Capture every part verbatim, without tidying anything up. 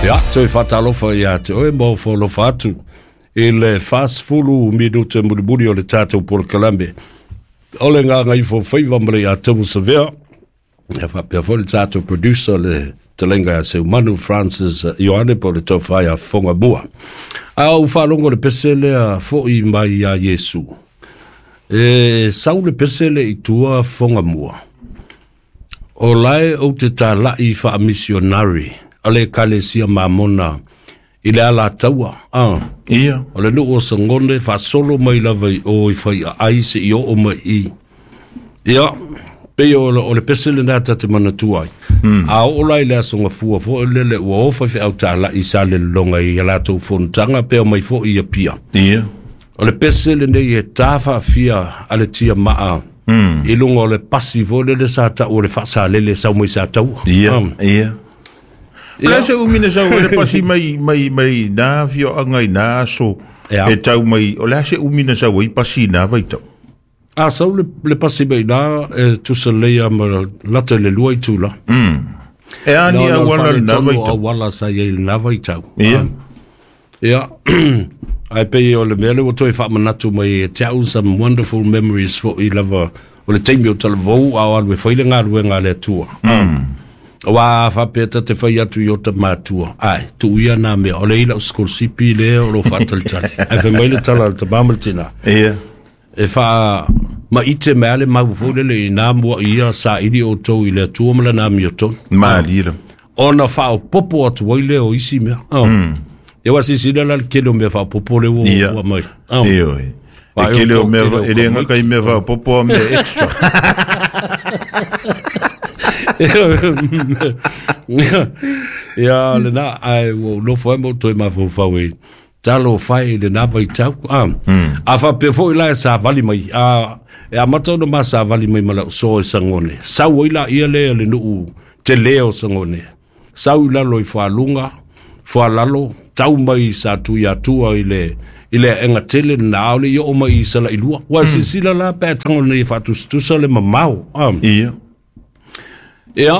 Ia, toe faatalofa ia te oe ma ofo atu i le fasefulu minute mulimuli o le tatou polokalame o le Gagaifofaiva ma le ia Tamasavea. Ia faapea foi le tatou producer le talenga ia Seumanu Francis Ioane po o le tofa ia Fofoga Mua. A ou faalogo le pese lea fo'i mai ia Iesu. E sau le pese le i tua Fofoga Mua. O lae ou te tala'i faamisionari a le Ekalesia Mamona i le Alataua. Ah. Ia. O le nuu o Sagone faasolo mai lava i o i Faiaai se i oo mai i. Ia, pei o, o le pese lena ta te manatua ai. Mm. A oo la i le aso gafua foi lele ua ofa feau tala'i sa le lologa i a latou fonotaga pe o mai foi i Apia. Ia. O le pese lenei e tā faafia a le tia maa Mm. i luga o le pasi foi lele sa tau o le faasalele sau mai sa taua. Ia. Um, Ia. O le ia, se umi na sau ai le pasi mai mai mai nā fioanga i nā aso ia. e tau mai. O le a se umi na sau ai pasi i nā vaitau. A sau le, le pasi mai nā e tusa leia ma lata i le lua i tula. Mm. E a ni No, no, auala le i nā faaletonu o vaitau. auala sa i ai i lena vaitau. Ia. Ah. Ia, ai pei o le mea le ua toe faamanatu mai e te au some wonderful memories fo'i lava o le taimi o talavou a o alu e fai le galuega a le Atua. Mm. Ua faapea ta te fai atu i o ta matua. Ai, tuu ia nā mea, o le ila o sikolasipi lea o lo faatalitali. Ai fai mai le tala a le tamā ma le tinā. Ia. E faa maite mea le mau foi lele i nā mua ia sa ili o tou i le Atua ma lana amiotonu. Malie la. Ona faaopopo atu ai lea o isi mea. Oh. Mm. Ia ua silasila la le kele o mea faaopopo le ua Ia. ua mai. Oh. Ia oi. E Faaiu kele o tau mea, tele o e le ngaka i mea faaopopo a mea extra. Ia lena ai ua ou nofo ai ma ou toe mafaufau i talo fai i lena vaitau. Ah. A faapea foi la e savali mai. A, e amata ona ma savali mai ma lau soa i Sagone. Sau ai laia lea le nuu telē o Sagone. Sau i lalo i Fualuga, Fualalo, tau mai i sa tui atua i le i le aega tele na aole i oo mai i Salailua. Ua silasila la pe a tago nei e faatusatusa le mamao. Ah. Ia. Ia,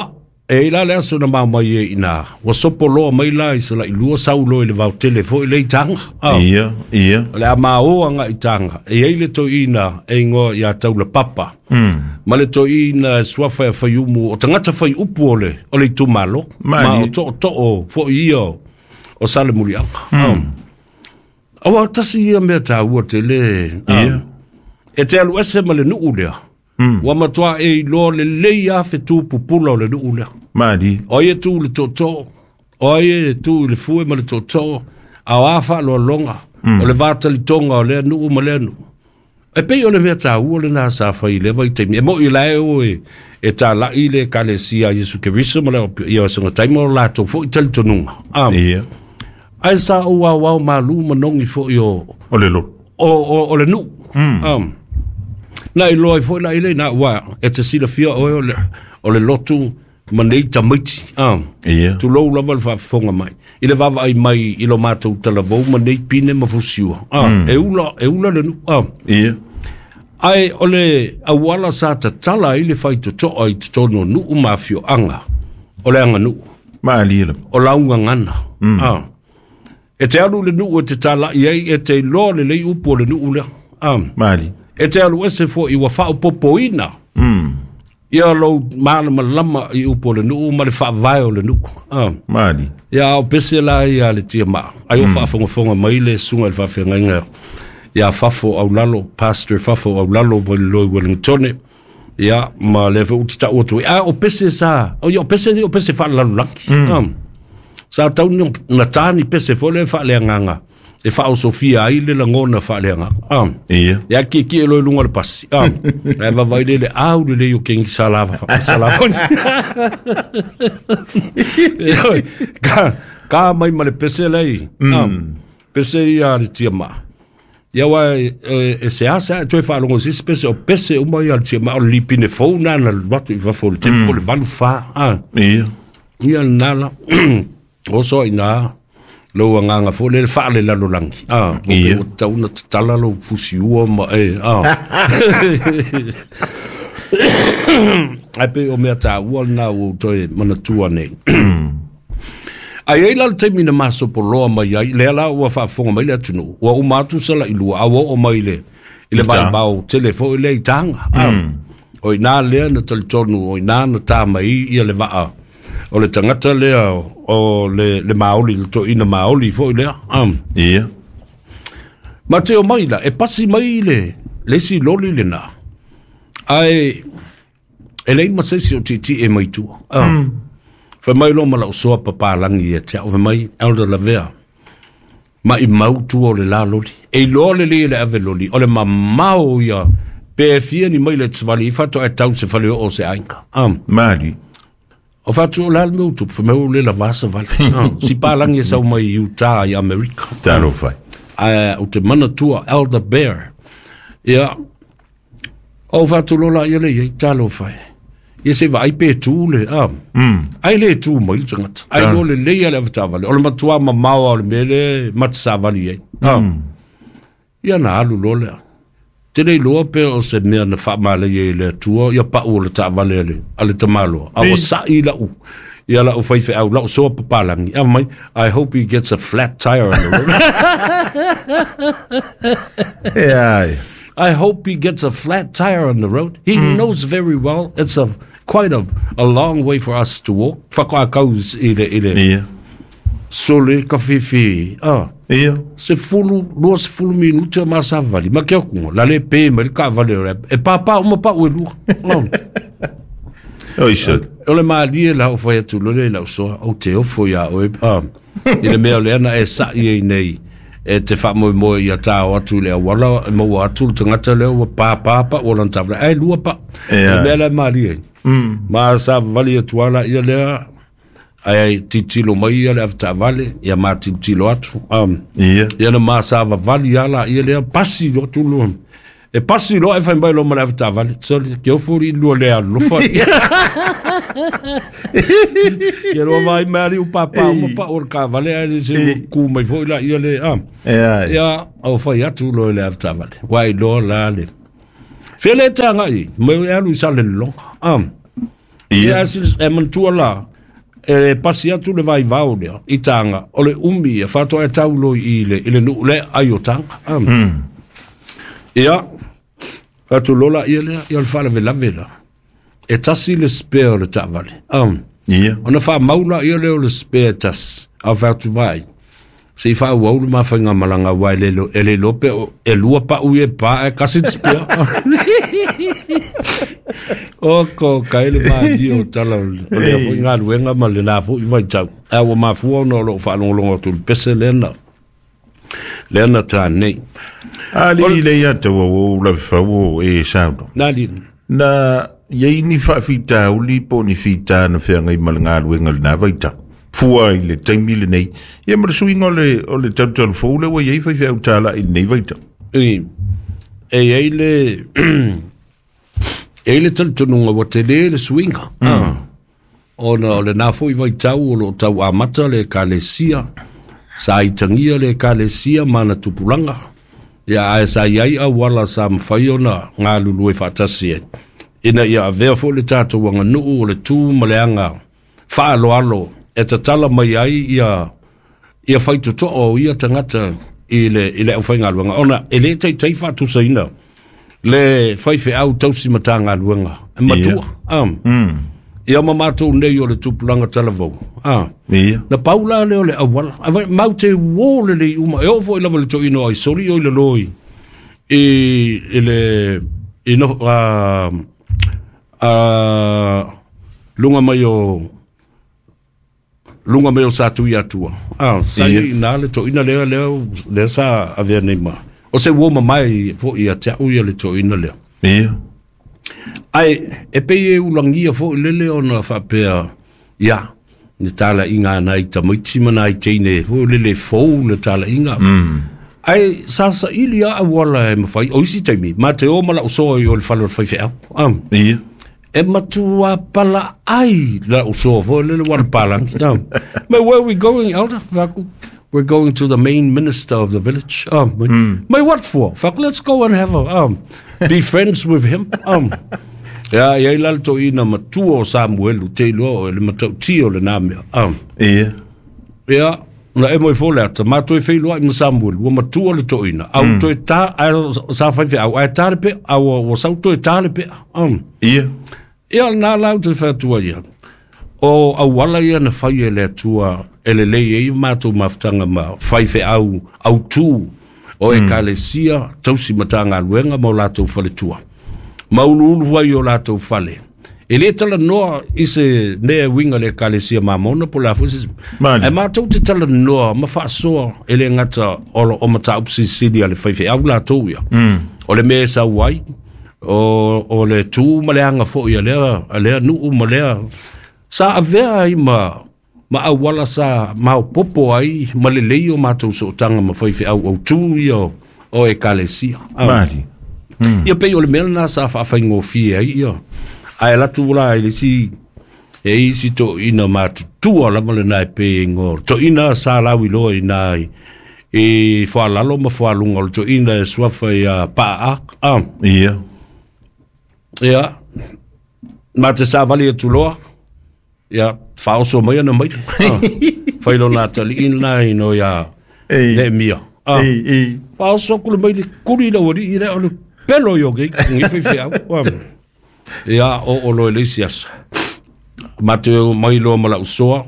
e i la le aso na mau mai e ina. Ua sopo loa mai la i Salailua sau loa i le vaotele foi le i Taga. Ah. Ia. Ia. O le a maoa nga i Taga. E ai le toeina e ingoa ia Taula Papa. Mm. Ma le toeina e suafa e whaiumu o tangata whaiupu o le, o le itumalo. Ma Malie. o too too foi ia o, o Salemuliaga. Mm. Aua tasi ia mea tāua te le. Ah. Ia. E te alu ese ma le nuu lea. Mm. Ua matua e iloa lelei a fetu pupula o le nuu lea. Malie. O ai e tu i le tootoo, o ai e tu i le fue ma le tootoo, a o a faaloaloga, Mm. o le vatalitoga o lea nuu ma lea nuu. E pei o le mea tāua lena sa fai i lea vaitaimi. E moi lae o e, e tāla'i le Ekalesia a Iesu Keriso ma le ia o senga taima o latou foi talitonuga. Ah. Ia. Ae sa ou aoao malū manogi foi o, O le loto. o, o, o le nuu. Mm. Um, na iloa ai foi la ile na ua e te silafia oe o le, o le lotu ma nei tamaiti. Ah. Ia. Tulou lava le faafofoga mai. I le vaavaai mai i lo matou talavou ma nei pine ma fusiua. Ah, Mm. E ula, e ula le nuu. Ah. Ia. Ae o le auala sa tatala ai le faitotoa i totonu o nuu ma afioaga o le aganuu. Malie la. O laugagana. Mm. Ah. E te alu le nuu e te tala'i ai e te iloa lelei upu o le nuu lea. Ah. Malie. E te alu ese foi ua faaopopoina Mm. ia lou malamalama i upu o le nuu ma le faavae o le nuu. Ah. Malie. Ia o pese la ia le tia maa. Ai o Mm. faafogafoga mai le suga i le faafeagaiga ia Fafo Aulalo, Pastor Fafo Aulalo mai le loi Wellingtone. Ia ma le foi uta tau atu ai. A o pese sa, o ia o pese ni o pese faalalolagi. Mm. Ah. Sa tau ni na tāni pese foi le faaleagaga e faaosofia ai le lagona faaleagaga. Ah. Ia. Ia ki ki e loi lunga le pasi. Ah. Ai vavai le le au le le o kengi sa lava fa sa lava. Ka ka mai ma le pese lei. Ah. Mm. Pese ia le tia ma. Ia wa e, e se asa e toe faalogo sisi pese o pese uma ia le tia ma o le lipine fou na na watu i fafo le tempo Mm. le valu fa. Ah. Ia. Ia nala. O so ina lou agaga foi le faale lalolagi. Ah, o Ia. pe ua tatau ona tatala lou fusiua ma e. Ah. Ai pe o mea tāua lena ua ou toe manatua nei. Ai ai la le taimi na masopoloa mai ai, lea la ua faafofoga mai le atunuu, ua uma atu salailua, a ua oo mai le i le vaivao tele foi lea i Taga. O i ina lea na talitonu, o i ina na tā mai ia le vaa o le tagata lea o le, le maoli, le toeaina maoli foi lea. Ia. Ma te o mai la, e pasi mai le, le isi loli lena, ae e leai ma se isi o tietie mai tua. Mm. Fai mai loa ma lau soa papalagi ia te au, fai mai, Elder Lavea, ma i mau tua o le la loli. E iloa lelei e le ave loli, o le mamao ia, pe fia ni mai le savali, i faatoa e tau se fale oo o se aiga. Um. Mali. O fatu o la le mea o tupu, fai mai ua le lavā savali. Um. Si palangi e sau mai i Utah i Amerika. Talofa. Ae ou te manatua Elder Bear. Ia, o fatu lola ia le iai, talofa e. Ia se vaai pe tu le, ah. Mm. Ai le tu mai le tagata. Ai lo le lei a le avetaavale. O le matuā mamao lava o le mea lea ma te savali ai. Ah. Mm. Ia na alu loa lea. Te le iloa pe o se mea na faamalaia e le Atua ia pau o le taavale a le, a le tamaloa. A ua sa'i lau, ia lau faifeau, lau soa papalagi. A mai, I hope he gets a flat tire on the road. E ai. I hope he gets a flat tire on the road. He mm. knows very well it's a quite a, a long way for us to walk. Whakaakau i le, i le Ia. sole ka whiwhi. Ah. Ia. Sefulu, lua sefulu minute o masavali. Ma ke okunga, la le pe mai le kaavale o le e pāpā uma pau e lua. Oh. Oi se. O le malie la o fai atu loa le lau soa, ou te ofo iā oe. Ah. I le mea o lea na e sa'i ai nei e te faamoemoe ia tāo atu i le auala, e maua atu le tagata lea ua pāpā pau o lana taavale. Ae lua pau. Ia. Le mea la e malie ai. Mm. Ma savavali atu lava laia lea, ae tilotilo mai ia le avetaavale, ia ma tilotilo atu. Um, Ia. ia na ma savavali lava laia lea, pasi loa atu loa. E pasi loa e fai mai loa ma le avetaavale. Sole, ke ofo li lua le alofa. Ia loa vai mai ali u pāpā uma pau o le kaavale, ae le se ku mai foi laia le. Ah. E ai. Ia, o fai atu loa i le avetaavale. Ua iloa la le. Fea le tagai, mai e alu i Salelologa. Ah. Ia. Ia, e manatua la, e pasi atu le vaivao lea i Taga, o le umi ia faatoa e tau loa i le, i le nuu lea ai o Taga. Ah. Mm. Ia, atu loa laia lea, ia o le faalavelave la. E tasi le spare o le taavale. Ah. Ia. Ona faamau laia lea o le spare tasi, a fai atu vaai. Se i faaauau le mafaigamalaga aua e le e le iloa pe o e lua pau ia e pa ae kasi le spare. O ko kai le malie o tala o le- o lea foi galuega ma lena foi vaitau. Ae ua mafua ona o loo faalogologo atu i le pese lea na lea na tā nei. Ali le ia taua o la fau e sauno. Nā li. Na iai ni faafitauli po o ni fitā na feagai ma le galuega i lenā vaitau. Fua i le taimi lenei. Ia ma le suiga o le, o le talutalu fou lea ua iai faifeau tāla'i i lenei vaitau. I, e iai le e iai le talitonuga ua telē le suiga. Mm. Ona o lenā fo'i vaitau o loo tau amata le ekalesia, sa itagia le ekalesia ma ana tupulaga. Ia ae sa iai auala sa mafai ona galulue faatasi ai. Ina ia avea fo'i le tatou aganuu o le tū ma le aga faaaloalo e tatala mai ai ia ia faitotoo o ia tagata i le i le aufaigaluega ona e lē taitai faatusaina le faifeau tausi matagaluega e matua. Ia. Um. Mm. Ia ma matou nei o le tupulaga talavou. Ah. Ia. Na pau la lea o le auala. Ai mau te uō lelei uma. E oo fo'i lava i le toeaina o Aisoli o i lalō i i i le i no a a luga mai o luga mai o Satuiatua. Ah, sa Ia. i nā le toeaina lea lea lea sa avea nei ma. O se uō mamae fo'i ia te au ia le toeaina lea. Ia. Ae e pei e ulagia fo'i lele ona faapea, ia, le talaiga a nai tamaiti ma nai teine fo'i lele fou le talaiga. Mm. Ae sa saili a auala e mafai, o isi taimi, ma te o ma lau soa i o le fale o le faifeau. Ah. Ia. E matua pala ai lau soa fo'i lele ua le palangi. Ah. But where we going, Elder? Faku? We're going to the main minister of the village. Um, Mm. Mai what for? Faku, let's go and have a, um, be friends with him. Um, ia, ia i la le toeaina matua o Samuelu, te iloa o le matautia o lenā mea. Um, Ia. Ia, na e moi fole ata, mātou e wheiloa i Masamuel, ua matua le toina. Au mm. toe tā, ai, sa whai whai, ai tā le pea, au ua sau toe tā le pea. Um. Ia. Ia, nā lau te whatua ia. O auala ia na whai e le atua, e le lei e mātou mafutanga ma whai whai au, au tū, o e mm. kalesia, tausi matanga luenga ma o lātou whale tua. Maulu ulu wai o lātou whale. E le tala noa i se nea winga le kalesia mamona po la fusi. E mātou te tala noa ma whaasoa e le ngata o, o mata upsi sili a le whaiwhe au lātou ia. Mm. O le mea sau ai, o, o le tū ma le anga fo ia lea, a lea nuu ma lea. Sa avea ai ma, ma awala sa maupopo ai ma le lei o mātou sootanga ma whaiwhe au au tū ia o, o e kalesia. Mali. Mm. Ia pei o le mea na sa whaawhaingofie ai ia. Ai latu la i si e isi to ina matutua lava le nai pe ngo to ina sa lawi lo ina e whalalo ma whalunga o to ina e suafa ia paa a ia ia ma te sa vali e tuloa ia whaoso mai ana mai whailo nā tali ina ino ia ne mia whaoso kule mai le kuri la wari i rea o le pelo yo ke ngi whai au. Ia o o lo elisias. Mateo mai lo mala usoa,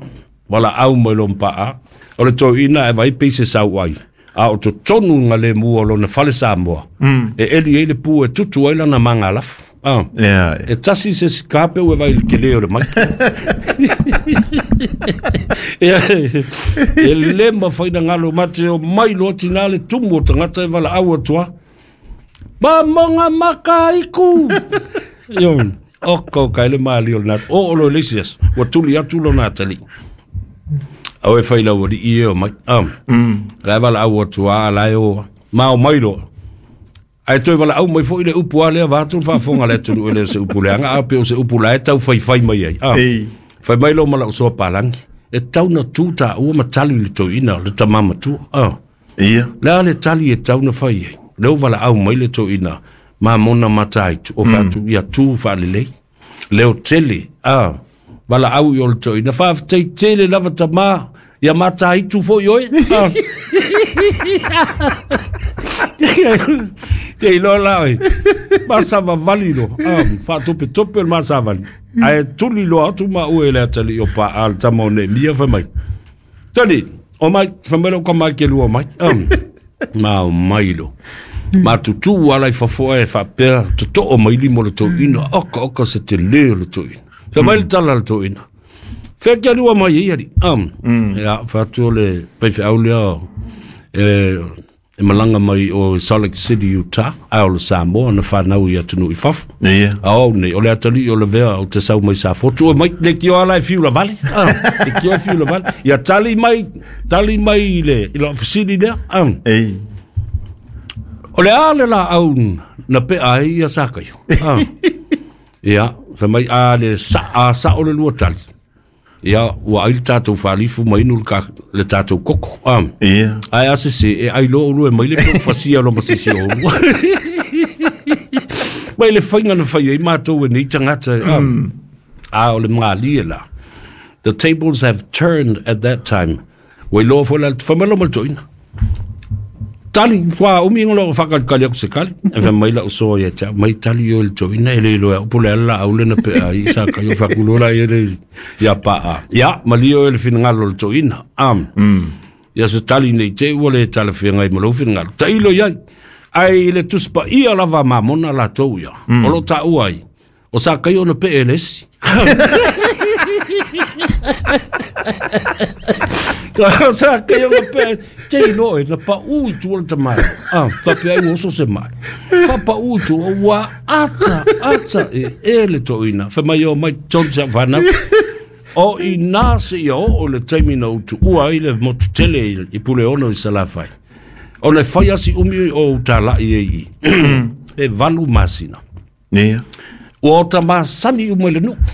wala au mai lo mpaa. O le toi ina e vai pise sau ai. A o to tonu ngale mua lo na fale Samoa. Mm. E eli e le pu e tutu ai lana manga laf. Ah. Yeah. E tasi se skape ue vai le kele o le mai. Ia e le mawhaina ngalo Mateo mai lo tina le tumu o tangata e wala au atua. Mamonga makaiku. Io, oko kai le mali o nat. O o lo lesias, wa tuli atu lo natali. Au e whai lau ri i o mai. Um. Mm. La wala au atua la o ma o mai lo. Ai toi wala au mai fo i le upu a lea vātu whaafonga le tunu ele se upu leanga a pe o se upu la e tau whai whai mai ai. Ah. Ei. Whai mai lo mala o soa palangi. E tau na tūta ua matali le toina le tamama tu. Ah. Ia. Lea le tali e tau na whai ai. Leo wala au mai le toina. Ma mona matai o fatu mm. ia tu whalelei. Leo tele, ah, wala au i o le toina. Whaafetei tele lava tama, ia matai tu fo i oe. Ah. Te iloa la oe. Masa vavali lo. Ah, whaatope tope le masa vali. Ae tuli loa atu ma ue le atali o pa al tama o ne mia whamai. Tali, o mai, whamai lo ka mai ke lua mai. Um, ma o mai lo. Ma tutu ala i fafoa e whapea toto o maili mo le toina oka oka se te leo le toina. Wha mai le tala le toina. Whea kia lua mai e iari. Um, mm. Ia, whatu o le paiwhe lea e, e malanga mai o Salt Lake City, Utah, a o le Samoa, na whanau i atunu i fafu. Yeah. A o nei, o le atali o le vea o te sau mai sa fotu, o mai le kio ala e fiu la vale. Ah, le kio e fiu la vale. Ia tali mai, tali mai i le, i le ofisini lea. Um. Ei. O le ale la au na pe ai ia sa kai. Ah. Ia, fa mai a le sa a sa o le lua tali. Ia, ua ai le tātou whalifu mai nu le, ka, le tātou koko. Ah. Ia. Ai a se se, e ai lo ulu e mai le peo fasia lo masisi o ulu. Mai le whainga na whai ai mātou e nei tangata. Ah. Mm. A o le mga la. The tables have turned at that time. Wai loa fo la, whamelo mal toina. Tali, kwa umi ngolo whakalikali aku se kali. E wha mai la usoa ia tia, mai tali o le toina e le iloa upo le ala au le na pe a i sa kai o whakulola i le ia paa. Ia, malio e le whingalo le toina. Am. Mm. Ia se tali nei te ua le tala whingai malo whingalo. Ta ilo iai, ai le tuspa ia lava mamona la tau ia. Mm. O lo ta uai. O sa kai o na pe e lesi. Sa kai o na pe te ilo e na pa ui tu o le tamai. Ah, whape ai oso se mai. Whapa ui tu o ua ata, ata e e le toina. Wha mai o mai tonu se whanau. O i nā se ia o o le taimi na utu ua i le motu tele i pule ono i Salafai. O le whai asi umi o utalai e i. E valu masina. Ia. Ua o ta masani umai le nuku.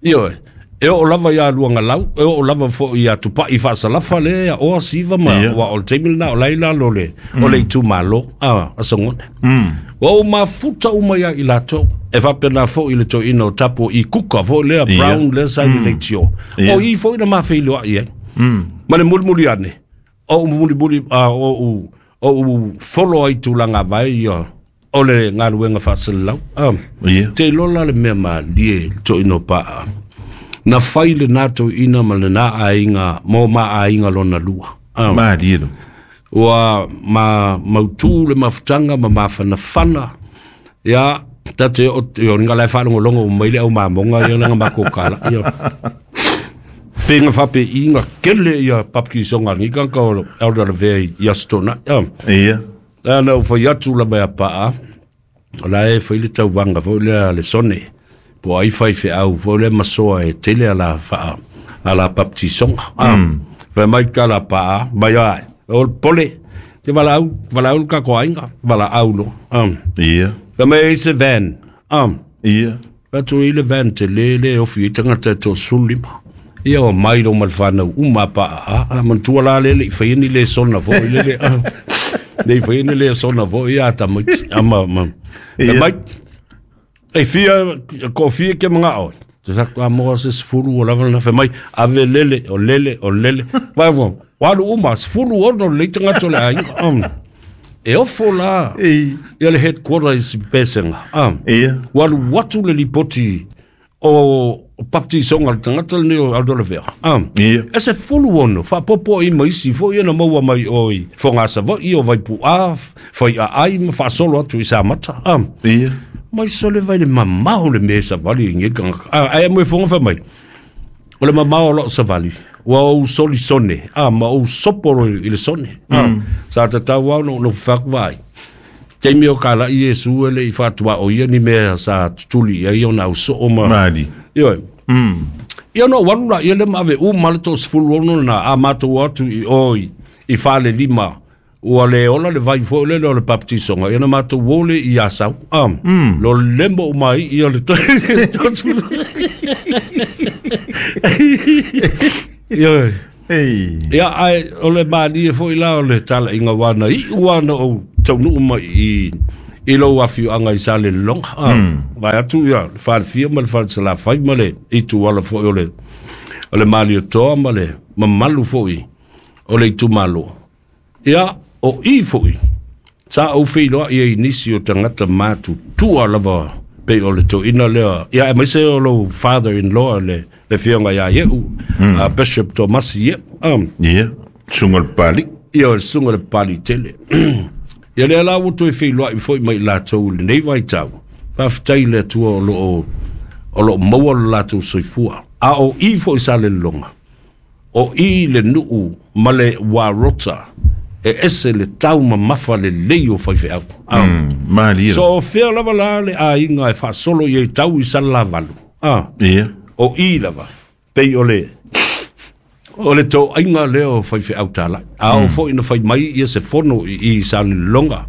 Io e. E o lava ia luanga lau, e o lava fo ia tupai whaasalafa le, ia oa siva ma, yeah. Wa o le teimil na o laila lo le, mm. o le itu malo, ah, asangone. Mm. Wa o mafuta uma ia i lato, e whapena fo i le toina o tapo i kuka fo lea Yeah. Brown lea sa i Mm. le tio. Yeah. O i fo i na mawheiloa i e. Ma le mulimuli ane o mulimuli o o folo ai tulaga vai ia o le galuega faasalalau. Te iloa la le mea malie le toeaina o Paa na fai lena toeaina ma lena aiga mo ma aiga lona lua. Malie lo. Ua ma mautu le mafutaga ma mafanafana ia tate o nga lae faalogologo mai le au mamoga ia laga makou kala ia pega faapeiga kele ia papikisoga a lenei tagata o Elder Lavea i Aso Toonai. Ia ana ou fai atu lava ia Paa o la e fai le tauvaga foi lea le sone po ai faifeau foi lea masoa e tele ala faa ala baptisoga. Fai mai kala Paa mai ai o le pole te valaau valaau le kako aiga valaau lo. Ia fai mai e se van. Ia atu i le van te le le ofi i tagata e toasefulu lima ia o mai lo ma le fanau uma Paa a manatua la le le i faia ni lesona foi le le le i faia ni lesona foi ia tamaiti ama ma mai e fia ko fia ke mangao te sa a mo se sefulu o lava na fai mai ave lele o lele o lele vai vo walu uma sefulu ono le tagata o le aiga e ofo la ia le headquarter i Sipesega. Ia walu atu le lipoti o baptisoga le tagata lenei o Aldo Lavea. Ia e sefulu ono faapopo ai ma isi foi na maua mai oi Fogasavaii o Vaipu'a Faiaai ma faasolo atu i Samata. Ia mai sole vai le mamao le mea savali i tagata ae mo e foga fai mai o le mamao o loo savali ua ou soli sone ma ou sopo i le sone sa tatau au no faku vai taimi o kala i Iesu e le i faatua o ia ni mea sa tutuli ia ia ona au soo ma mali ioe ia no walu la ia le ma ave uma le toasefulu ono na a matou atu i oi i fale lima ua le ola le vai foi le o le baptisoga ia na matou ole i Asau lo lembo mai ia le toasefulu ia ia ai o le malie foi la o le talaiga wana i ua na ou taunuu mai i i lou afioaga i Salelologa. Vai atu ia le falefia ma le falesalafai ma le ituala foi o le o le Malietoa ma le mamalu foi o le itumalo. Ia o i foi sa ou feiloai ai nisi o tagata matutua lava pei o le toeaina lea ia aemaise o lou father in law le le afioga ia Ieu Bishop Tomasi Ieu. Ia suga le pali ia o le suga le pali tele ia lea la ua toe feiloai foi mai latou i lenei vaitau faafetai le Atua o loo o loo maua lo latou soifua a o i foi Salelologa o i le nuu ma le uarota e ese le tau mamafa lelei o faifeau. Malie. So fea lava la le aiga e faasolo i ai tau i Salalavalu. Ia o i lava pei o le o le toaiga lea o faifeau talai a o foi na fai mai ia se fono i Salelologa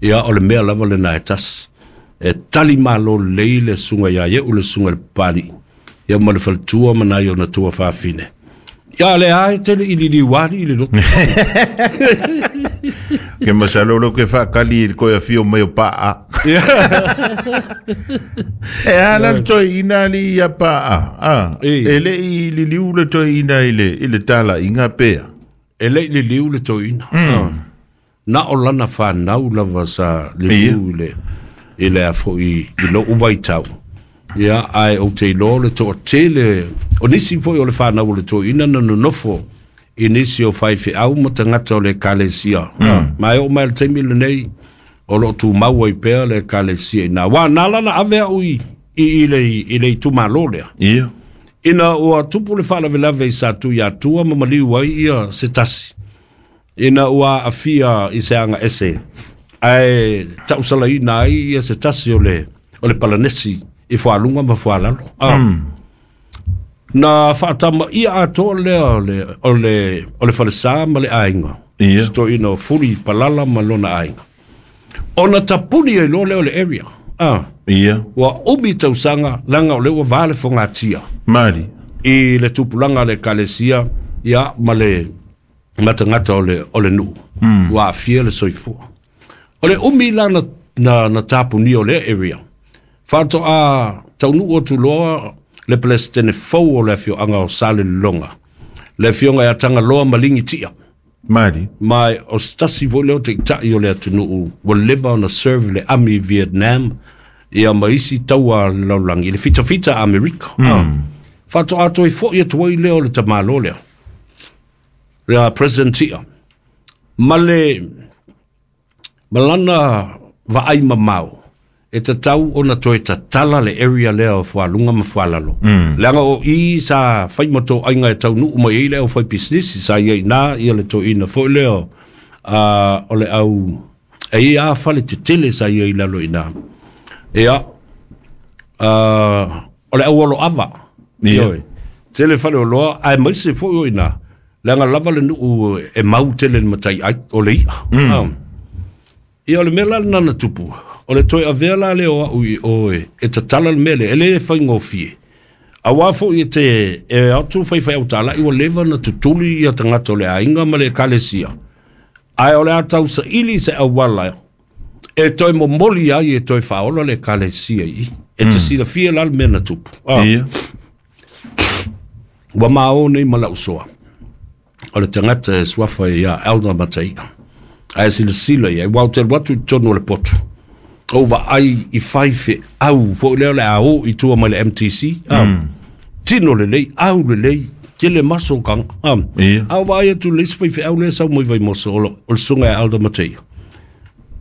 ia o le mea lava lena e tasi e tali malo lelei le suga ia Ieu le suga le papalii ia ma le faletua ma nai ona tua fafine ia le ai tele i liliuali i le lotu. Ke masalo lo ke whaakali i koe afio mai o Paa. E ala le toi ina li ia Paa. E le i liliu le toi ina i le, i le tala inga pea. E le i liliu le toi ina. Na o lana whanau lava sa liliu i le, i le afo i, i lo uvaitau. Ia ai o te iloa le toa tele o nisi foi o le whanau o le toeaina na nonofo i nisi o faifeau ma tagata o le ekalesia. Ma e oo mai le taimi lenei o loo tumau ai pea le ekalesia ina wa na lana ave au i i le i le itumalo lea. Ia ina ua tupu le faalavelave i sa tui atua ma maliu ai ia se tasi ina ua afia i se aga ese ae tausalaina ai ia se tasi o le o le Palanesi i fualunga ma fualalo. Na whaatama ia atoa lea o le, o le, o le falesa ma le aiga. Ia. Stoina o fuli palala ma lona aiga. Ona tapuni ai loa lea o le area. Ah. Ia. Ua umi tausaga langa o le ua vale fongatia. Mali. I le tupulaga le ekalesia ia ma le matagata o le, o le nuu. Mm. Ua afia le soifua. O le umi la na, na, na tapuni o le area. Whāto a taunu o tuloa le Palestine fau o le afioaga o Salelologa. Le afioga ia Tagaloa ma Ligitia. Mali. Ma o se tasi foi lea o taitai o le atunuu ua leva ona serve le ami i Vietnam ia ma isi taua a le lalolagi i le fitafita a Amerika. Mm. Faatoa toe fo'i atu ai lea o le tamālō lea. Le President Tia. Ma le ma lana vaai mamao e tatau ona toe tatala le area lea o Fualuga ma Fualalo. Mm. Leaga o i sa fai ma toaiga e taunuu mai ai le au fai pisinisi sa ia ina ia le toeaina foi lea uh, o le au e ia fale tetele sa ia i lalo ina. Ia, uh, o le au olo ava. Ia. Tele fale o loa, ae maise foi o ina. Leaga lava le nuu e mau tele le matai ai o le ia. Mm. Um, ia o le mea la lena na tupu. O le toe avea la lea o au i oe e tatala le mea lea, e le faigofie. Auā foi e te e atu faifeau talai ua leva na tutuli ia tagata o le aiga ma le ekalesia. Ae o le a tausaili se auala e toe momoli ai e toe faaola le ekalesia i i. E te silafia la le mea na tupu. Ah. Ia. Ua maō nei ma lau soa. O le tagata e suafa ia Elder Mataia. Ae silasila ia, ua ou te alu atu i totonu o le potu. Ou vaai i faifeau foi lea o le a o i tua mai le M T C. Ah. Mm. Tino lelei, au lelei, tele maso kanga. Ah. Ia. A ou vaai atu le isi faifeau lea sau mai Vaimoso, o le susuga ia Elder Mataia.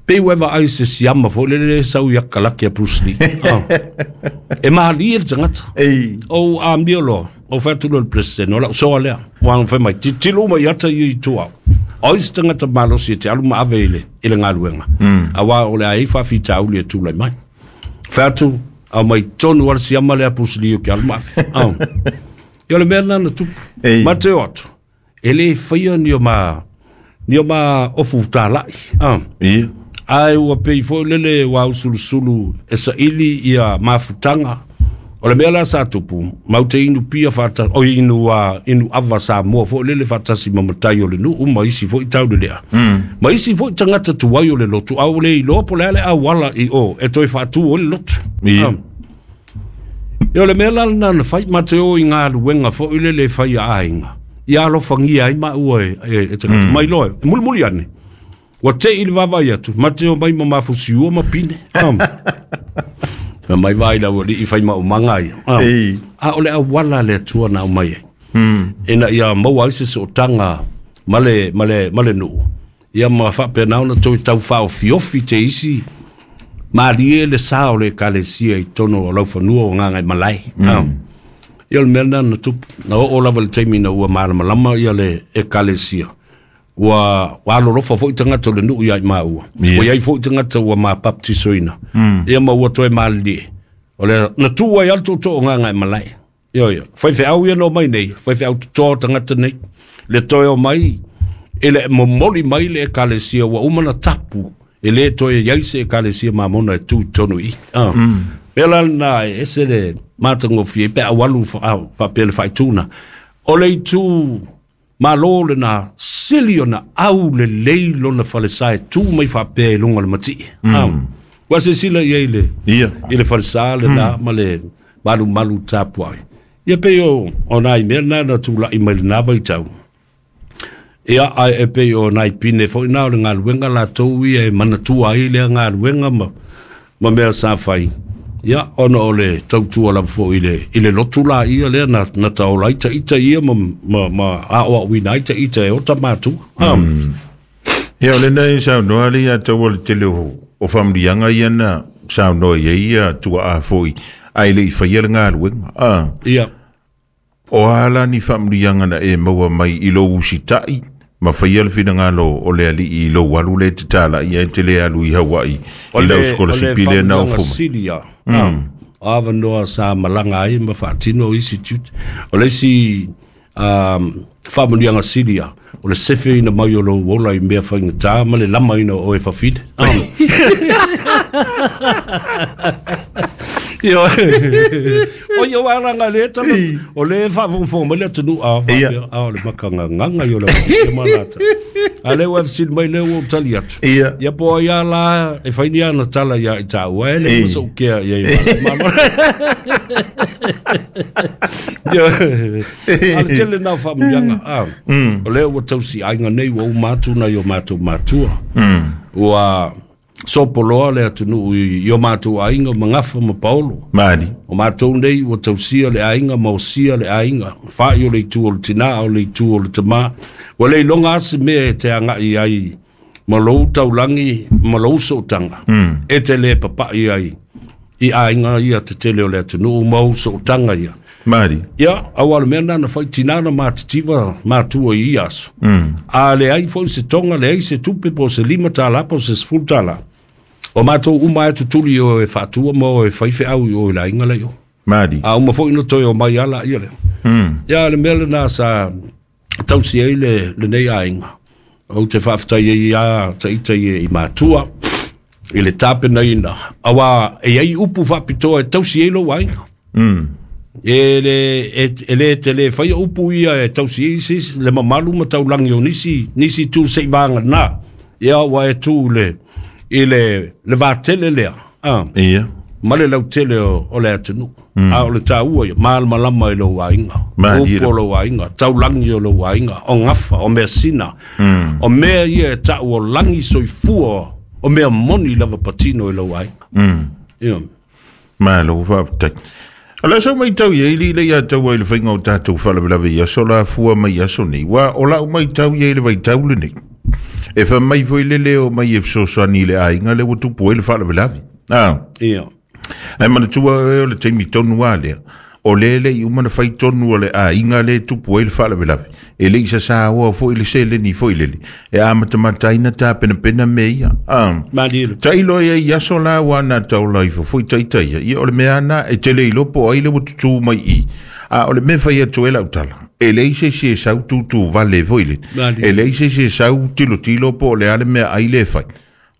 Pei ua e vaai se siama foi lele lea sau i akalaki a Bruce Lee. Ah. E mahalie le tagata. Ei. Ou amio loa, ou fai atu loa i le president, o lau soa lea. Ua fai mai, titilo uma i ata ia i tua. O isi tagata malosi e te alu ma ave i le, i le galuega. Mm. Auā o le a i ai faafitauli e tulai mai. Fai atu, au mai tonu ala siama lea Bruce Lee o ke alu ma ave. Ah. Ia o le mea lena na tupu. Ei. Ma te o atu, e lē faia ni o ma, ni o ma ofu talai. Ah. Ia. Ae ua pei foi lele ua usulusulu e saili ia mafutaga. O le mea la sa tupu, mau te inu pia faatasi, o inu, uh, inu ava Samoa foi lele faatasi ma matai o le nuu, ma isi foi tau le lea. Mm. Ma isi foi tagata tuai o le lotu, au le iloa po le a le auala i o, e toe faatu o le lotu. Ia. Um. Ia o le mea la lena na fai, ma te o i galuega foi lele e fai a aiga. Ia alofagia ai maua e, e, e tagata. Mm. Mai loa, e mulimuli ane. Ua tei i le vaavaai atu, ma te o mai ma mafusiua ma pine. Um. Ma mai vai lau alii fai maumaga ia. Ah. Ei. A o le auala le Atua na aumai ai. Mm. Ina ia maua ai se sootaga ma le, ma le, ma le nuu. Ia ma faapena ona toe taufaofiofi te isi malie le sa o le ekalesia i totonu o laufanua o Gagaemalae. Mm. Ah. Ia o le mea lena na tupu. Na oo lava i le taimi ina ua malamalama ia le ekalesia. Ua, ua alolofa foi tagata o le nuu ia i maua. Ia. Ua iai foi tagata ua mapaptisoina. Mm. Ia ma ua toe malilie. O le na tuu ai a le tootoo o Gagaemalae. Ia ia. Faifeau ia na omai nei, faifeau totoa tagata nei. Le toe omai, e le momoli mai le ekalesia ua uma na tapu. E le toe iai se ekalesia mamona e tū i totonu i. Ah. Mm. Mea la lena e ese le matagofie pe aualu faapea le faaituna. O le itu malo lena sili ona au lelei lona falesa e tu mai faapea i luga o le matii. Mm. Ah. Ua silasila i ai i le, Ia. i le falesa lena ma le malumalu tapuai. Ia pei o, o nai mea lena na tula'i mai lena vaitau. Ia ae e pei o nai pine foi na o le galuega latou ia e manatua ai lea galuega ma, ma mea sa fai. Ia ona o le tautua lava foi i le, i le lotu la ia lea na, na taola ai taita ia ma, ma, ma aoaoina ai taita e ota matua. Ah. Mm. Ia o lena e saunoa le ia tau o le tele o, o faamanuiaga ia na saunoa i ai ia tuaa foi ae le i faia le galuega. Ah. Ia. O a la ni faamanuiaga na e maua mai i lou usitai ma faia le finagalo o le alii i lou alu le tatala'i e te le alu i Hawaii O i lau le, o le sikolasipi lea na faamanuiaga ofo mai. sili ia. Ah. O avanoa sa malaga ai ma faatino isi tiute. O le isi um, faamanuiaga sili ia, o le sefeina mai o lou ola i mea faigatā ma le lamaina o oe fafine. Ah. Io. O ia wala le tala. O le faafogafoga mai le atunuu a faapea a o le makagagaga i o le malata. A le ua fesili mai lea ua ou tali atu. Ia po ai a la e fai ni ana tala ia i tāua e le ma sou kea ia i malo. Ia. A le tele nā faamuliaga. A. O lea ua tausi aiga nei ua uma atu nai o matou matua. Ua sopoloa le atunuu i o matou aiga magafa ma paolo. Mali. O matou nei ua tausia le aiga ma osia le aiga. Fa'i o le itu o le tinā o le itu o le tamā. Ua le iloga ase mea e te aga'i ai ma lou taulagi ma lou sootaga. E te le papa'i ai i aiga ia tetele o le atunuu ma ou sootaga ia. Mali. Ia, auā le mea lena na fai tinā na matitiva matua i ia aso. A leai foi se toga, leai se tupe po o se lima tālā po o se sefulu tālā. O matou uma e tutuli o e faatua ma o e faifeau i o i le aiga lai o. Mali. A uma foi na toe o mai ala ia lea. Ia, le mea lenā sa tausi ai le lenei aiga. Ou te faafetai ai ia taita ia i matua i le tapenaina. Auā e iai upu faapitoa e tausi ai lou aiga. E le e le te le faia upu ia e tausi ai se isi le mamalu ma taulagi o nisi nisi tu se'i vagana. Ia ua e tu le i le le vatele lea. A. Ia. Ma le lautele o, o le atunuu. A o le tāua ia, malamalama i lou aiga. Upu o lou aiga, taulagi o lou aiga, o gafa, o measina. O mea ia e ta'u o lagi soifua, o mea moni lava patino i lou aiga. Ia. Malo faafetai. O le aso matau ia i le ia tau ai le faiga o tatou faalavelave i aso la fua mai aso nei. Ua o lau matau ia i le vaitau lenei. E fai mai foi le leo mai e fesoasoani i le aiga le ua tupu ai le faalavelave. Ah. Ia. Ae manatua oe o le taimi tonu a lea. O le le i uma na fai tonu o le aiga le tupu ai le faalavelave. E le i sasāoa foi le seleni foi lele. E amatamataina tapenapena mea ia. Ah. Malie. Tailo ia i aso la ua na taola ifo foi taita ia. Ia o le mea ana e tele iloa po o ai le ua tutū mai i. A o le mea fai atu e lau tala. E leai se isi e sau tūtū vale foi lele. Malie. E leai se isi e sau tilotilo po o le a le mea ai le fai.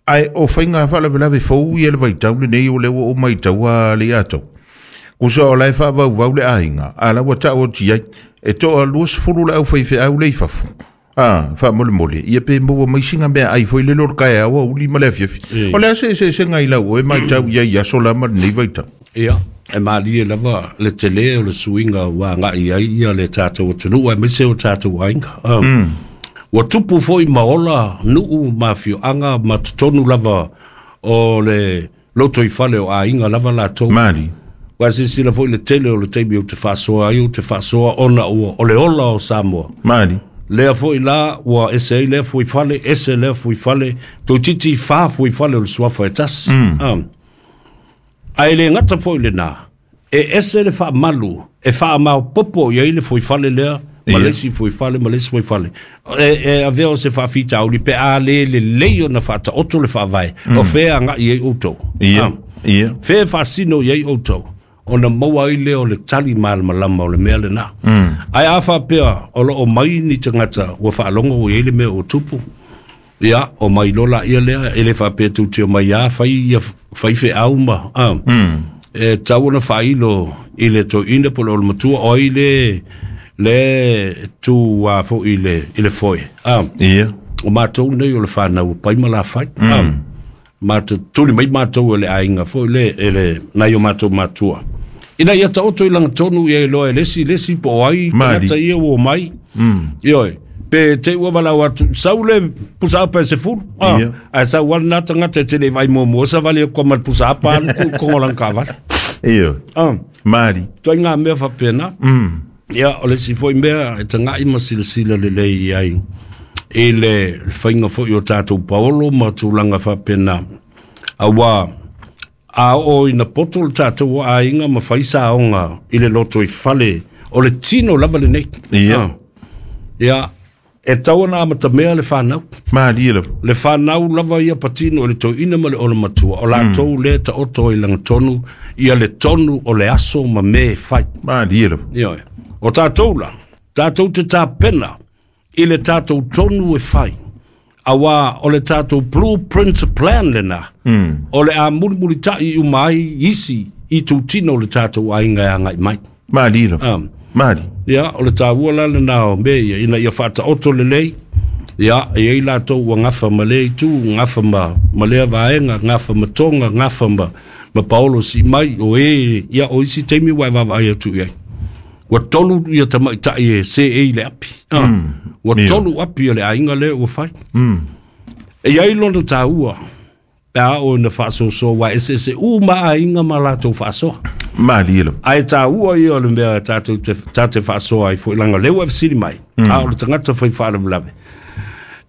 Ae o faiga faalavelave fou ia le vaitau lenei o le ua o maitau a le ia tau. Kusa o lae faavauvau le aiga, a la ua ta'u atu ai. E to'a luasefulu le au faifeau le i fafo. Ah, faamolemole, ia pe maua mai siga mea ai foi lele o le taeao auli ma le afiafi. O le a se eseesega i lau oe matau ia i aso la ma lenei vaitau? Ia, e malie lava le telē o le suiga ua aga'i ai ia le tatou atunuu aemaise o tatou aiga. Um, Ua tupu foi ma ola nuu ma afioaga ma totonu lava o le lotoifale o aiga lava latou. Mali. Ua silasila foi le tele o le taimi ou te faasoa ai ou te faasoa ona ua o le ola o Samoa. Mali. Lea foi la ua ese ai lea fuifale, ese lea fuifale, toeitiiti fa fuifale o le suafa e tasi. Mm. Ae le gata foi lenā, e ese le faamalu e faamaopopo i ai le fuifale lea ma le isi fuifale ma le isi fuifale. E, e avea o se faafitauli pe a le lelei ona faataoto le faavae, o fea aga'i ai outou. Ia. Ia. Fea faasino i ai outou, ona maua ai lea o le tali malamalama o le mea lenā. Ae a faapea o loo mai ni tagata ua faalogo ua i ai le mea ua tupu, ia, o mai loa laia lea, e le faapea tou te omai a fai ia faifeau ma, a, e tatau ona faailo i le toeaina po o le matua o ai le le tu a foi i le i le foe. A. Ia. O matou nei o le fanau o pai ma lafai. A. Matou tuli mai matou e le aiga foi le e le nai o matou matua. Ina ia taoto i lagatonu ia iloa e le isi le isi po o ai tagata ia ua omai. Ioe. Pe te ua valau atu sau le pusa apa e sefulu. A. Ae sau lava lena tagata e te le i vaai muamua savali atu ma le pusa apa alu ku i kogo o lana taavale. Ioe. A. Mali. Ituaiga mea faapena. Ia, o le isi foi mea e taga'i ma silasila lelei i ai i le faiga foi o tatou paolo ma tulaga faapena. Auā a oo ina poto le tatou aiga ma fai saoga i le lotoifale o le tino lava lenei. Ia. Ah. Ia, e tatau ona amatamea le fanau. Malie lava. Le fanau lava ia patino i le toeaina ma le olamatua. O latou lea taoto i lagatonu ia le tonu o le aso ma mea e fai. Malie lava. Ioe. O tatou la, tatou te tapena i le tatou tonu e fai. Auā o le tatou blueprint plan lenā, o le a mulimulita'i uma ai isi itutino o le tatou aiga e agai mai. Mali lava. Um, Mali. Ia, o le tāua la lena o mea ia, ina ia faataoto lelei, ia, e iai latou ua gafa ma lea itu, gafa ma, ma lea vaega, gafa ma Toga, gafa ma, ma Paolo Siimai, o e, ia, o isi taimi ua e vaavaai atu i ai. Ua tolu ia tamaitai e seei le api. Ah, Mm. ua Ia. tolu api o le aiga lea ua fai. Mm. E iai lona tāua, pe a oo ina faasoasoa, ua eseese uma aiga ma latou faasoa. Mali lava. Ae tāua ia o le mea tatou te, tate faasoa ai foi leaga o lea ua e fesili mai. Mm. A o le tagata fai faalavelave.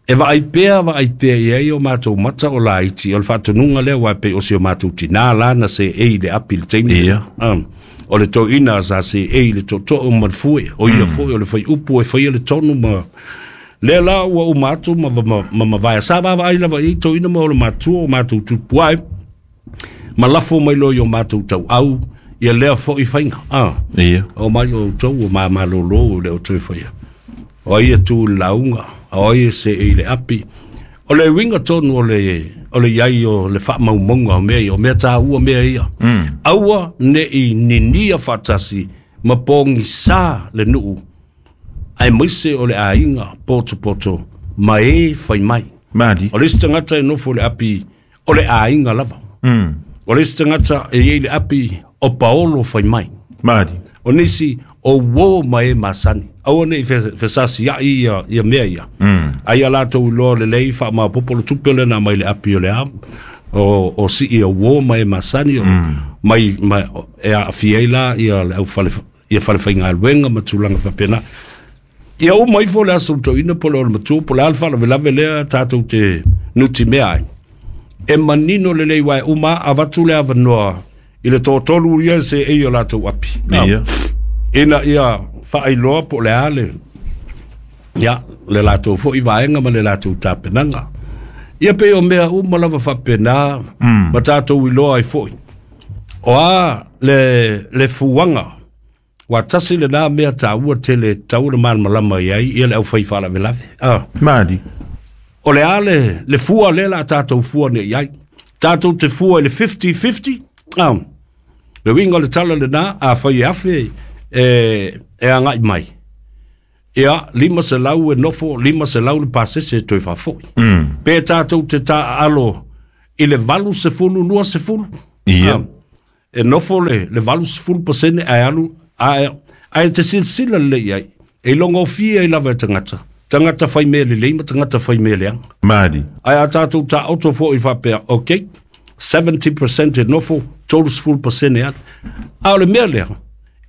E vaai pea, vaai pea i ai o matou mata o laiti, o le faatonuga lea ua e pei o si o matou tinā la na seei i le api i le taimi. Ia. Um, o le toeaina sa seei i le tootoo ma le fue, o ia foi o le faiupu e faia le tonu ma lea la ua uma atu ma, ma, ma mavae. Sa vaavaai lava i ai toeaina ma o le matua o matou tupuae, ma lafo mai loa i o matou tauau, ia lea foi faiga. Ah. Ia. O mai o outou o mamalōlō o le o toe faia. O ai e tu i le lauga, o ai e seei i le api. O le uiga tonu o le, o le iai o le faamaumauga o mea ia, o mea tāua mea ia. Mm. Aua nei ninia faatasi ma pogisā le nuu, aemaise o le aiga potopoto ma e fai mai. Mali. O le isi tagata e nofo i le api o le aiga lava. Mm. O le isi tagata e iai le api o Paolo fai mai. Mali. O nisi o uō ma e masani. Aua nei fesasiai ia, ia mea ia. Mm. Ai a latou iloa lelei faamaopoopo le tupe lena mai le api o le a. O, o sii o uō ma e masani o, Mm. mai, mai, e aafia ai la ia le aufale, ia falefaigaluega ma tulaga faapena. Ia uma ifo le aso toeaina po o le matua po o le a le faalavelave lea tatou te nutimea ai. E manino lelei uae uma avatu le avanoa i le toatolu ia e seei o latou api. Ia. Ina ia faailoa po o le a le, ia, le latou foi vaega ma le latou tapenaga. Ia pei o mea uma lava faapena Mm. ma tatou iloa ai foi. O a le, le fuaga, ua tasi lenā mea tāua tele tatau ona malamalama i ai ia le aufai faalavelave. Ah. Mali. O le a le, le fua lea la tatou fua nei ai. Tatou te fua i le fifty fifty. Ah. Le uiga o le tala lenā, afai e afe e, e agai mai. Ia, lima selau e nofo, lima selau le pasese e toe faafoi. Mm. Pe tatou te taaalo i le valu sefulu, lua sefulu. Ia. Ah, e nofo le, le valu sefulu pasene ae alu, ae, ae te silasila lelei ai. E ilogofie ai lava e tagata. Tagata fai mea lelei ma tagata fai mea leaga. Mali. Ae a tatou taoto foi faapea, ok, seventy percent e nofo, tolu sefulu pasene alu. A o le mea lea,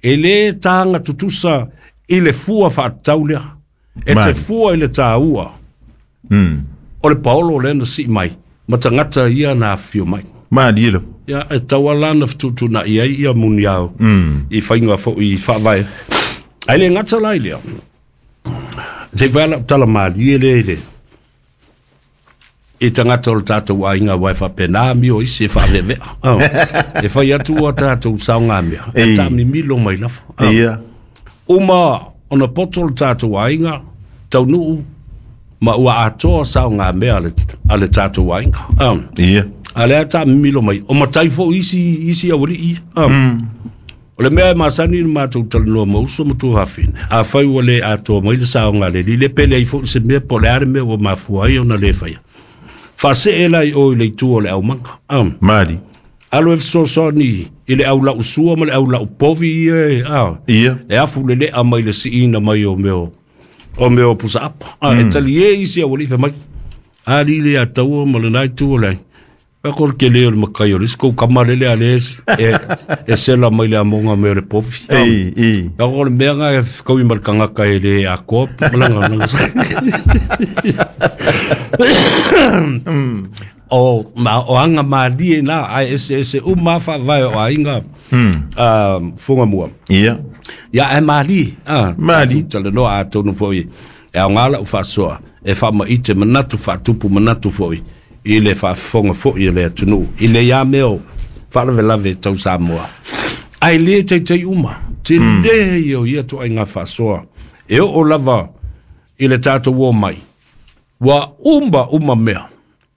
e lē taga tutusa i le fua faatatau lea. E te Mali. fua i le tāua. Mm. O le Paolo lea na sii mai, ma tagata ia na afifio mai. Mali lava. Ia, e tau ala na fetuutuunai ai ia muniao Mm. i faiga foi i faavae. Ae le gata la i lea. Se i fai lau tala malie lea i le i tagata o le tatou aiga uae faapena amio isi e faaveavea. Oh. E fai atu ua tatou saogamea. E Ei. taamimilo mai lafo. Oh. Ia. Uma ona poto le tatou aiga, taunuu, ma ua atoa saogamea a le, a le tatou aiga. Oh. Ia. A lea taamimilo mai, o matai foi isi, isi aualii. Oh. Mm. O le mea e masani le matou talanoa ma uso ma tuafafine. Afai ua le atoa mai le saoga le li, le pele ai foi se mea po o le a le mea ua mafua ai ona le faia. Faasee la i o i le itu o le aumaga. Um. Mali. Alo e fesoasoani i le au lausua ma le au laupovi ia e, ah, Ia. e afu lelea mai le siina mai o mea o, o mea o pusaapa. Ah, Mm. E talie isi aualii fai mai. Ali le ataua ma lenā itu o le ai. Pea ko le kele o le makai o le isi kou kama lele a le e, e sela mai le amoga mea o le povi. Ah. Ei, ei. Pea ko le mea ngā e kaui ma le kangaka e le akoa. Malanga, malanga. O, ma, o anga malie nā, ai ese ese uma faavae o aiga Mm. uh, fuga mua. Ia. Ia e malie. Ah, Mali. Talanoa atonu foi e aoga lau faasoa e faamaite manatu faatupu manatu foi i le faafofoga foi o le atunuu i le ia mea o faalavelave tau Samoa. Ae lē taita'i uma, telē ia o ia toaiga faasoa. E oo lava i le tatou o mai, ua uma uma mea,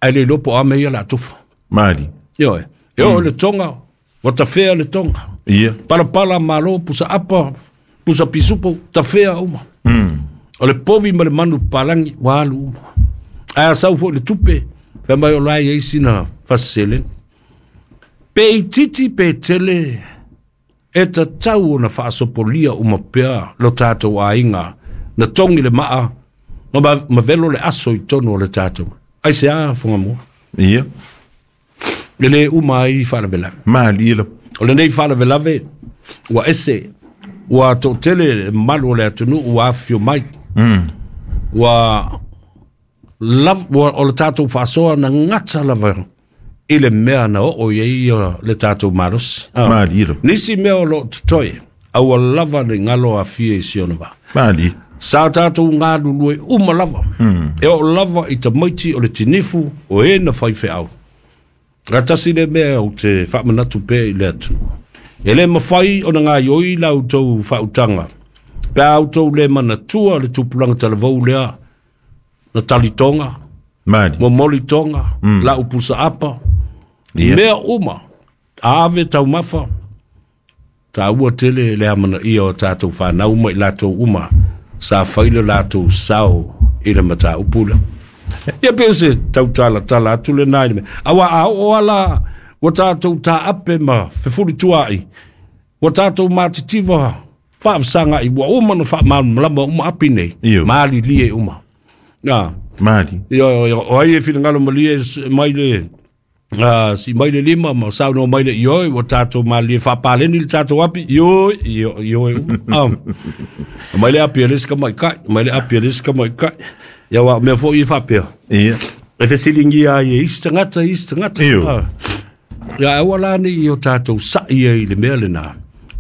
ae le iloa po o a mea ia o le a tofa. Mali. Ioe, e oo i le Toga, Ua tafea le tonga. Ia. Palapala malo, pusa apa, pusa pisupo, tafea uma. Mm. O le povi ma le manu palangi, ua alu uma. Ae a sau fo'i le tupe, fai mai o la e iai sina fasiseleni. Pe itiiti pe tele, e tatau ona faasopolia uma pea lo tatou aiga na togi le maa ma, ma velo le aso i tonu o le tatou. Ai se a Fugamua. Ia. Le lē uma ai faalavelave. Malie la. O lenei faalavelave ua ese, ua to'atele le mamalu o le atunuu ua afifio mai. Mm. Ua lav, ua, o le tatou faasoa na gata lava i le mea na oo i ai ia le tatou malosi. Ah. Malie la. Nisi mea o loo totoe, aua lava le galo afia i si ona vaa. Malie. Sa tatou galulue uma lava. Mm. E oo lava i tamaiti o le tinifu o e na faifeau. Gatasi le mea o te faamanatu pea i le atunuu. E le mafai ona gaioi la outou faautaga pe a outou le manatua le tupulaga talavou lea na talitoga, Malie. momolitoga, mm. la upusa apa, Ia. mea uma, ave taumafa, taua tele le amanaia o tatou fanau ma i latou uma, sa fai le latou sao i le mataupu lea. Ia pe o se tautalatala atu lenā i le mea. Auā a oo ala ua tatou taape ma fefulitua'i, ua tatou matitiva faavasaga'i, ua uma na faamalamalama uma api nei, Io. ma alilie uma. Ah. Malie. Ia, ia, o ai e finagalo malie s- mai le uh, si mai le lima ma saunoa mai le ioe ua tatou malie faapaleni le tatou api ioe io- ioe uma. Ah. Mai le api a le isi tamaitai, mai le api a le isi tamaitai. Ia ua mea fo'i e faapea. Ia. E fesiligia ai e isi tagata, isi tagata. Io. Ah. Ia aua la nei o tatou sa'i ai i le mea lenā.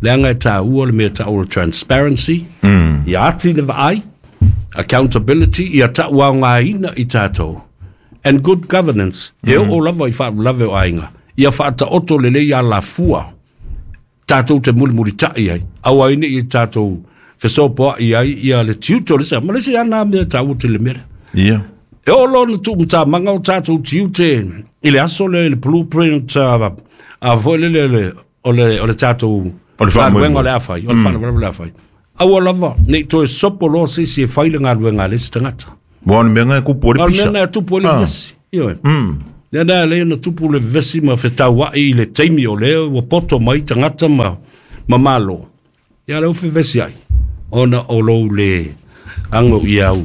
Leaga e tāua le mea ta'u o le transparency, Mm. ia ati le vaai, accountability, ia ta'uaogāina i tatou. And good governance, e oo lava i faalavelave o aiga. Ia faataoto lelei alafua, tatou te mulimulita'i ai. Aua ai ne'i tatou fesopoa'i ai ia le tiute o le isi ma le isi ana mea taua tele mea lea. Ia. E oo loa na tuumatamaga o tatou tiute i le aso lea i le blueprint a, a foi lele le, o le, o le tatou O le faamoemoe. galuega o le a fai, o le faalavelave o le a fai. Aua lava, nei toe sopo loa se isi e fai le galuega a le isi tagata. Ua o le mea na e tupu ai le O le mea pisa. na e tupu ai le Ah. vevesi. Ioe. Mm. Lea na lea na tupu le vevesi ma fetaua'i i le taimi o lea ua poto mai tagata ma, ma malo. Ia lea ua fevesi ai. Ona o lou le ago i au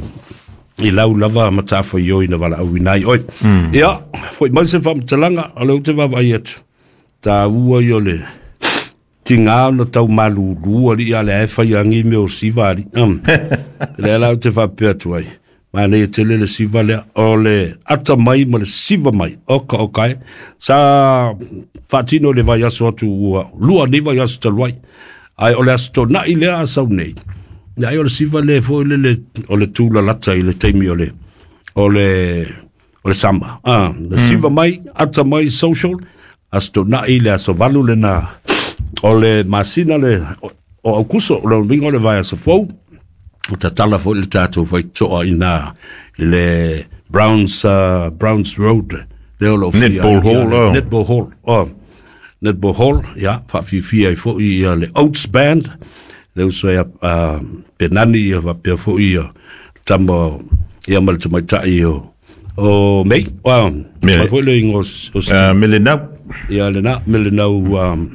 i lau lava matafaioi na valaauina ai oe. Mm. Ia, fo'i mai se faamatalaga, o lea ou te vaavaai atu. Taua ia o le tigā ona tau malūlū ali'i a le ae fai agi mea o siva ali'i. Um. Lea la ou te faapea atu ai. Manaia tele le siva lea, o le ata mai ma le siva mai, oka oka e. Sa faatino le vaiaso atu ua, lua nei vaiaso talu ai. Ae o le aso tona'i lea a sau nei. Ia ai o le siva lea foi le, le, o le tūlalata i le taimi o le, o le, o le sama. Ah, le siva mai, ata mai social, aso tona'i le aso valu lena, o le masina le, o, o Aukuso, o le uiga o le vaiaso fou, o tatala foi le tatou faito'a i na i le Browns, uh, Browns Road lea o loo fia Netball ai, ia, Hall, le oh. Netball Hall, oh. Netball Hall, ia, faafiafia ai fo'i ia le Oats Band, le uso ia uh, Penani ia faapea fo'i ia tama ia ma le tamaita'i o o Mei, wow, Me- mai foi le igoa o s- o Steve. Ah, Melenau. Ia lenā Melenau um,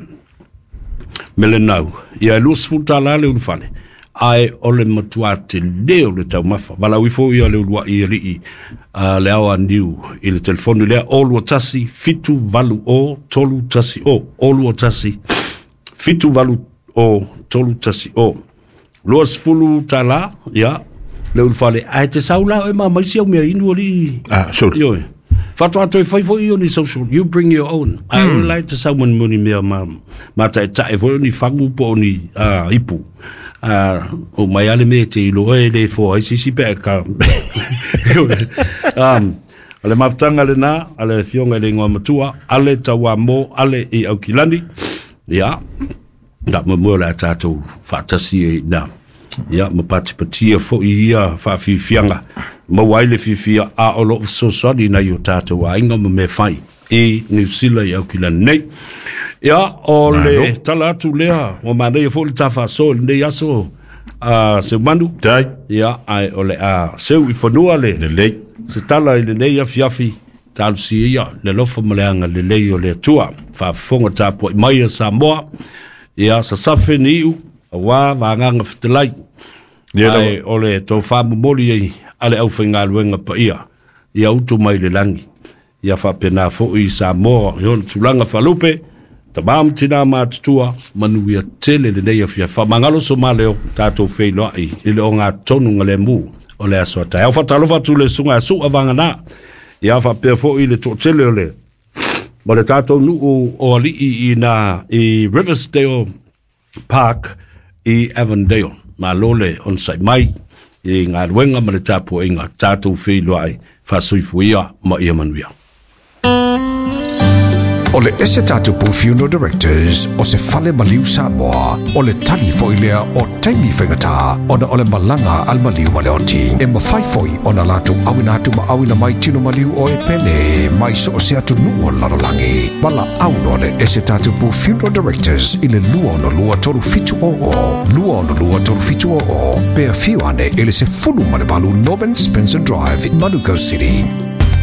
Melenau. Ia e luasefulu tālā le ulufale. Ae o le matuā telē o le taumafa. Valaau ifo ia le ulua'i ali'i uh, le ao aniu i le telefoni lea o lua tasi fitu valu o tolu tasi o. O lua tasi fitu valu o tolu tasi o. Luasefulu tālā, ia, le ulufale. Ae te sau la oe ma maisi au mea inu ali'i. Ah, sorry. Ioe. Faatoa toe fai fo'i o ni social. You bring your own. Ae mm. lai te sau monimoni mea ma, ma ta'etaʻe foi o ni fagu po o ni uh, ipu. Uh, o mai ale mea te iloa e le foa ai sisi pe ka. Ioe. um, o le mafutaga lenā, a le afioga i le igoa matua, ale tauamo, ale i Aukilani. Ia, na mo le a tatou faatasi ai na. Ia, ma patipatia fo'i ia faafiafiaga maua ai le fiafia a o loo fesoasoani nai o tatou aiga ma mea fai i Niu Sila i Aukilani nei. Ia, o le tala atu lea, ua manaia foi le tafaasoa i lenei aso a Seumanu. Tai. Ia, ae o le a seu i fanua le Lelei. se tala i lenei afiafi, talosia ia le alofa ma le agalelei o le Atua. Faafofoga tapuai mai a Samoa, ia sasafe ni iu, auā vagaga fetalai. Ia lava. Ae o le tofa momoli ai a le aufaigaluega paia, ia utu mai le lagi. Ia faapena foi i Samoa i ona tulaga faalupe, tamā ma tinā matutua, manuia tele lenei afiafi. Faamagalo so maleo, tatou feiloai i le ogatotonu galemu o le aso a taeao. Faatalofa atu i le susuga ia Su'a Vagana, ia faapea foi le toatele o le ma le tatou nuu o alii i na i Riversdale Park i Avondale. Malo le onosai mai i galuega ma le tapuaiga, tatou feiloai, faasoifuia ma ia manuia. O le ese tatupu Funeral Directors o se fale maliu Samoa, o le tali foi lea o taimi faigata ona o le malaga a le maliu ma le oti. E mafai foi ona latou auina atu ma auina mai tino maliu o e pele mai so o se atunuu o le lalolagi. Valaau loa le ese tatupu Funeral Directors i le lua ono lua tolu fitu o o, lua ono lua tolu fitu o o, pe afio ane i le sefulu ma le valu Norman Spencer Drive, Manukau City.